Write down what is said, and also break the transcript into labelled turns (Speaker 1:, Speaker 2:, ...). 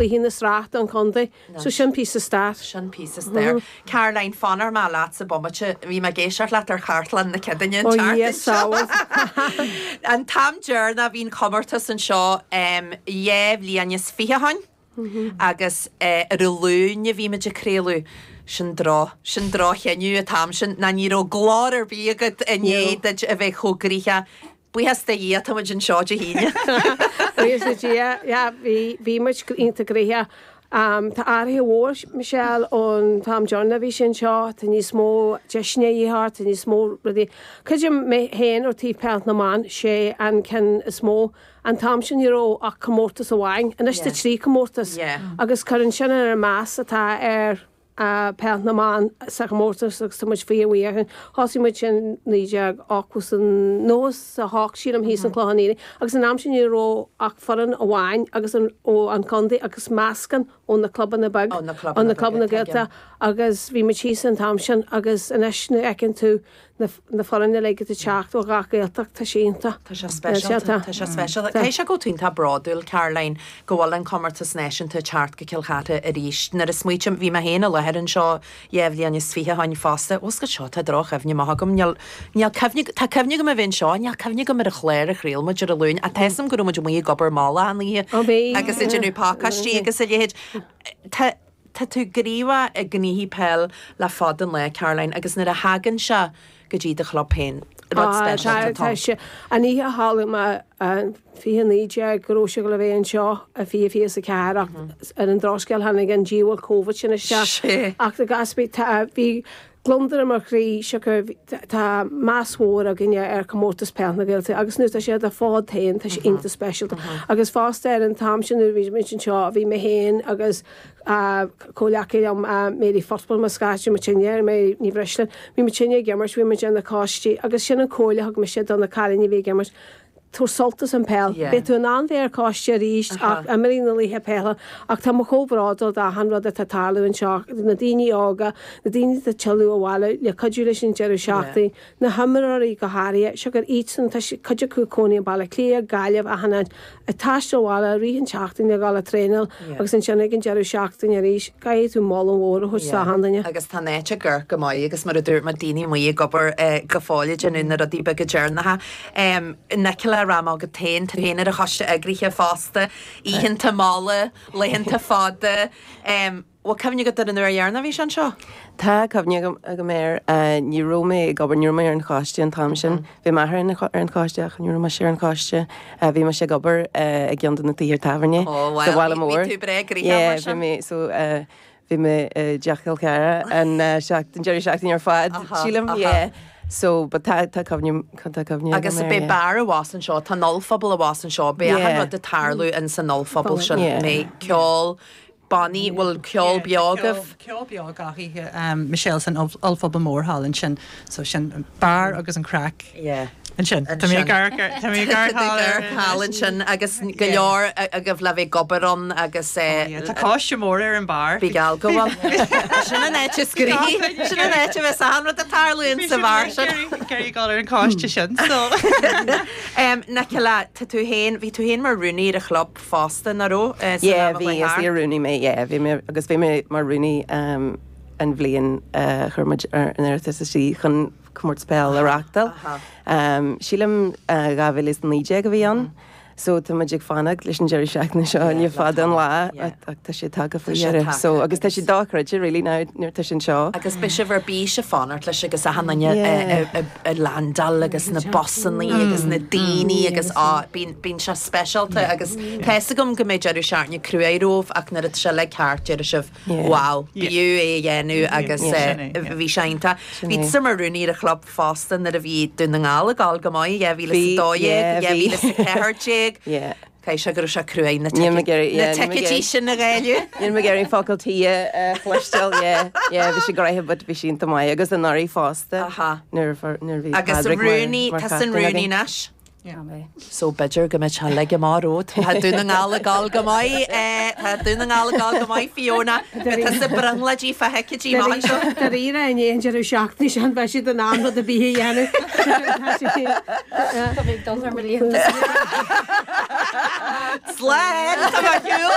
Speaker 1: Cluichí na Sraith don chontae. So sin píosa stair.
Speaker 2: Sin píosa stair. Caroline, fanfaidh mé leatsa bomaite. Bhí mé ag éisteacht leat ar Chartlann na Ceadaoine an tseachtain seo. An t-am deireanach a bhí an comórtas anseo 2 bhliain is 20 ó shin agus ar an Luan a bhí muid ag craoladh. Sin droch, sin droch-chinneadh an t-am sin ná ní raibh glór ar bith agat i ndiaidh duit a bheith chomh gnoitheach. Buíochas do Dhia, tá muid anseo Dé hAoine.
Speaker 1: Buíochas do Dhia, yeah, bhí, bhí muid iontach gnoitheach. Tá athraithe mhór, Michelle, ón t-am deireanach a bhí sé anseo, tá níos mó deiseanna a dhíth ort, tá níos mó rudaí. Creidim mé féin ó taobh peil na mban, sé an ceann is mó. An t-am sin ní raibh ach comórtas amháin, anois tá 3 comórtas agus cuireann sin ar an meas atá ar Peil na mBan sa chomórtas agus tá muid fíorbhuíoch. Thosaigh muid in 1998 sílim thíos an Clochán Liath agus an am sin ní raibh ach foireann amháin agus an ó an chontae agus meascán ó na clubanna beag ó na clubanna Gaeltachta agus bhí muid thíos an t-am sin agus anois nuair a fheiceann tú na na foirne uilig atá ag teacht ó ghach Gaeltacht, tá sé iontach.
Speaker 2: Tá sé speisialta, tá sé speisialta. Caithfidh sé go bhfuil tú iontach bródúil, Caroline, go bhfuil an comórtas náisiúnta ag teacht go Cill Chartha arís. Nuair a smaoitím, bhí mé féin i láthair anseo 2 bhliain is 20 ó shin fosta. Bhfuil 's agat seo, tá droch-chuimhne maith agam. Níl, níl cuimhne, tá cuimhne agam a bheith anseo, níl cuimhne agam ar an chlár a chraol muid ar an Luan. Ach tá 'fhios agam go raibh muid amuigh ag obair mall achan oíche agus ag déanamh pacáistí agus a leithéid. Tá. Tá tú gníomhach i ngnoithí peil le fada an lá, Caroline, agus nuair a thagann sé go dtí do chlub féin, rud speisialta atá ann.
Speaker 1: Tá. An oíche a chuala mé 2019 go raibh sé le bheith anseo i 2024 ach ar an drochscéal tháinig an diabhal Covid sin isteach. Ach i gcás ar bith tá, bhí gliondar i mo chroí siocair tá meas mhór againne ar Chomórtas Peil na Gaeltachta agus nuair atá sé ar do fhód féin tá sé iontach speisialta. Agus fosta ar an t-am sin nuair a bhí muid anseo bhí mé féin agus comhleacaí liom Mary Football mar scaití muidinne, Mary Ní Bhreisleáin, bhí muidinne ag imirt, bhí muid ar na coistí agus sin an comhairle a thug mise do na cailíní a bhí ag imirt, tabhair sult as an peil. Beidh tú in ann bheith ar coiste arís ach imir na laetha peile ach tá mé chomh bródúil d'achan rud atá ag tarlú anseo, na daoine óga, na daoine atá ag tuilleadh abhaile le cuidiú leis an deireadh seachtaine, na himreoirí go háirithe, siocair iadsan, tá cuid acu ag cónaí i Baile Átha Cliath, Gaillimh, achan áit. Ag taisteal abhaile i rith an tseachtain le dhul ag traenáil agus ansin ag an deireadh seachtaine arís, caithfidh tú moladh mhór a thabhairt d'achan duine.
Speaker 2: Agus tá an áit ag amharc go maith agus mar a dúirt mé, daoine amuigh ag obair go fóill ag déanamh na rudaí beaga deireanacha. Nicola, rachaidh mé chugat féin, tú féin ar an choiste eagraithe fosta, oícheanta malla, laethanta fada. Bhfuil cuimhne agat ar an uair dheireanach a bhí sé anseo?
Speaker 3: Tá cuimhne agam air. Ní raibh mé ag obair, ní raibh mé ar an choiste an t-am sin. Bhí m'athair ar an choiste ach ní raibh mise ar an choiste. Bhí mise ag obair i gceann de na tithe tábhairne sa bhaile mór.
Speaker 2: Bhí tú breá gnoitheach mar sin.
Speaker 3: Yeah, bhí mé, so bhí mé i dTeach Chill Chartha an deireadh seachtaine ar fad, sílim, yeah. So, but tá tá cuimhne tá cuimhne agam
Speaker 2: Agus air, beidh yeah. beár abhus anseo, tá an ollphuball abhus anseo, beidh achan rud ag tarlú in san ollphuball sin, mbeidh ceol, bannaí, bhfuil ceol beo agaibh?
Speaker 4: Ceol beo gach oíche, Michelle san ollphuball mór thall ansin. So sin an beár agus an craic ansin. Tá mé ag amharc ar, tá mé ag amharc thall ar.
Speaker 2: Thall ansin agus go leor agaibh le bheith ag obair ann agus.
Speaker 4: Tá coiste mór ar an beár.
Speaker 2: Bí geall go bhfuil. Sin an áit is gnoithí, sin an áit a bheas achan rud ag tarlú in sa bheár sin.
Speaker 4: Ag iarraidh dul ar an choiste sin so.
Speaker 2: Nicola, tá tú féin, bhí tú féin mar rúnaí ar an chlub. fosta, nach raibh? San
Speaker 3: Yeah,
Speaker 2: am a
Speaker 3: bhí,
Speaker 2: chuaigh
Speaker 3: is
Speaker 2: thart.
Speaker 3: iar-rúnaí mé, yeah, bhí mé, agus bhí mé mar rúnaí um, an bhliain a chuir muid ar an iarratas istigh chun comórtas peil a reáchtáil.
Speaker 2: Aha.
Speaker 3: Um, sílim uh, 2019 a bhí ann. So tá muid ag fanacht leis an deireadh seachtaine seo
Speaker 2: Yeah,
Speaker 3: le
Speaker 2: le
Speaker 3: fada an
Speaker 2: tamall,
Speaker 3: lá
Speaker 2: yeah.
Speaker 3: ach tá sé tagtha faoi
Speaker 2: Tá sé
Speaker 3: dheireadh.
Speaker 2: tagtha
Speaker 3: So agus tá
Speaker 2: agus-
Speaker 3: sé dochreidte really now nuair atá sé anseo.
Speaker 2: Agus beidh sibh ar bís ag fanacht leis agus achan duine
Speaker 3: Yeah.
Speaker 2: ag landáil agus na busannaí agus na daoine agus á, bíonn, bíonn sé speisialta agus tá fhios agam go mbeidh deireadh seachtaine cruaidh romhaibh ach nuair atá sé uilig thart déarfaidh sibh wow, b'fhiú é a dhéanamh agus bhí sé iontach. Bhí tusa mar rúnaí ar an chlub fosta nuair a bhí Dún na nGall ag gabháil go maith, 2012, 2014. Caithfidh sé go raibh sé cruaidh na ticéidí sin a dháileadh.
Speaker 3: Níl mé ag iarraidh focal tí a chloisteáil, yeah, yeah, bhí sé gnoitheach but bhí sé iontach maith agus anuraidh fosta nuair a bhí
Speaker 2: Agus rúnaí, tá san rúnaí anois. So b'fhéidir go mbeidh sé uilig amach romhat. Tá Dún na nGall ag gabháil go maith. Tá Dún na nGall ag gabháil go maith, Fiona. Beidh tusa ag brionglóidí fá thicéidí amach anseo.
Speaker 1: Dáiríre, i ndiaidh an deireadh seachtaine sin beidh siad in ann rud ar bith a dhéanamh.
Speaker 5: Tá mé ag dul thar mo liathróid.
Speaker 2: Slán! Tá mé ar shiúl!